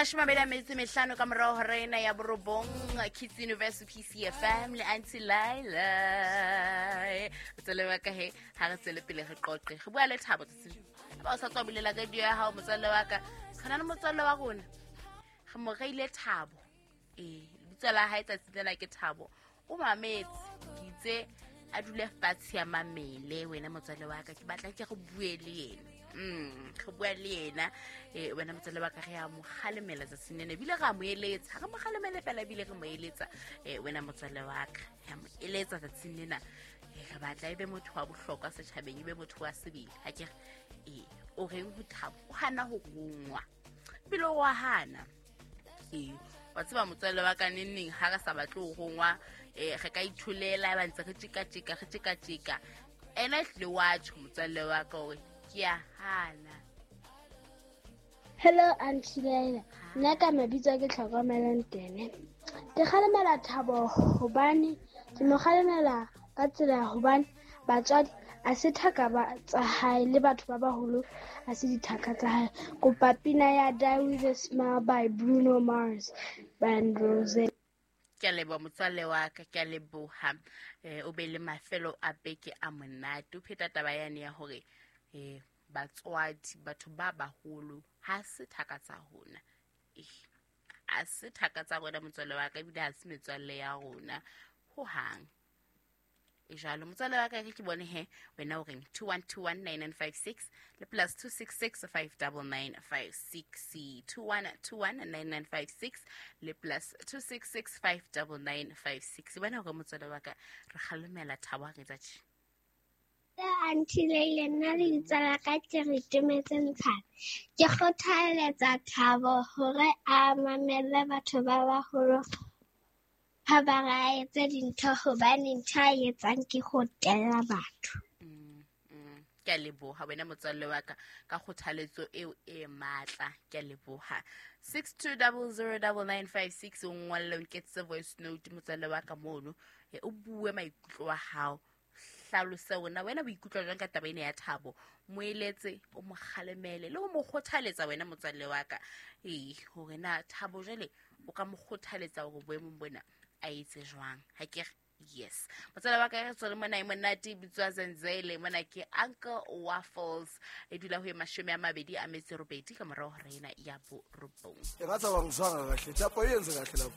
25 ka morago hora ena ya borobong, Kids Universe, PCFM le Aunty Laila. Motswalle wa ka, he ga re tswele pele re qoqe, re bua le Thabo tsatsing. Ba o sa tswa bulela radio ya gago, motswalle wa ka, re na le motswalle wa rona, re mo reile Thabo. Ee, lebitso la hae tsatsi lena ke Thabo. O mametse, ke itse a dule fatshe ya mamele. Wena motswalle wa ka, ke batla ke re bue le yena. Re bua le yena, wena motswalle wa ka, re a mo kgalemela tsatsing lena, ebile re a mo eletsa. Re mo kgalemele fela, ebile re mo eletsa. Wena motswalle wa ka, re a mo eletsa tsatsing lena. Re batla e be motho wa bohlokwa setjhabeng, e be motho wa sebele, ha ke re? Ee, o reng ho Thabo? O hana ho rongwa, ebile o wa hana. Ee, wa tseba, motswalle wa ka, neng neng ga re sa batle ho rongwa, re ka itholela, ba ntse re tjeka-tjeka, re tjeka-tjeka. Ena e tlile wa tjho, motswalle wa ka, hore ke a hana. Hello, Aunty Laila. Nna ka mabitso ke Tlhokomelo Ntene. Ke kgalemela Thabo hobane ke mo kgalemela ka tsela hobane batswadi a se thaka ba tsa hae, le batho ba baholo a se dithaka tsa hae. Kopa pina ya Die With a Smile by Bruno Mars and Rose. Ke a leboha, motswalle wa ka, ke a leboha. O be le mafelo a beke a monate. O pheta taba yane ya hore batswadi, batho ba baholo, ha se thaka tsa rona. Ha se thaka tsa rona, motswalle wa ka, ebile ha se metswalle ya rona ho hang. E jalo, motswalle wa ka, ke bone he wena o reng. 21219956 le +266 59956, 21219956 le +266 59956. Bona hore, motswalle wa ka, re kgalemela Thabo ha re etsa tje. Aunty Leila, nna lebitso la ka ke re Tumetse Ntshane. Ke kgothaletsa Thabo hore a mamelle batho ba baholo ha ba re a etse dintho, hobane ntho a e etsang ke ho tella batho. Ke a leboha, wena motswalle wa ka, ka kgothaletso eo e matla. Ke a leboha. 62009956, o ngwalle, o nketsetse voice note, motswalle wa ka, mono. O bue maikutlo wa hao, hlalose ona wena o ikutlwa jwang ka taba ena ya Thabo. Mo eletse, o mo kgalemele le ho mo kgothaletsa, wena motswalle wa ka. Ee, hore na Thabo jwale o ka mo kgothaletsa hore boemong bona a etse jwang, ha ke re? Yes, motswalle wa ka, re tswele mona. E monate, e bitswa Zenzele. Mona ke Uncle Waffles. E dula ho e 28 ka morao hora ena ya 9. Engathi awangizwanga kahle, Thabo. Yenze kahle lapho.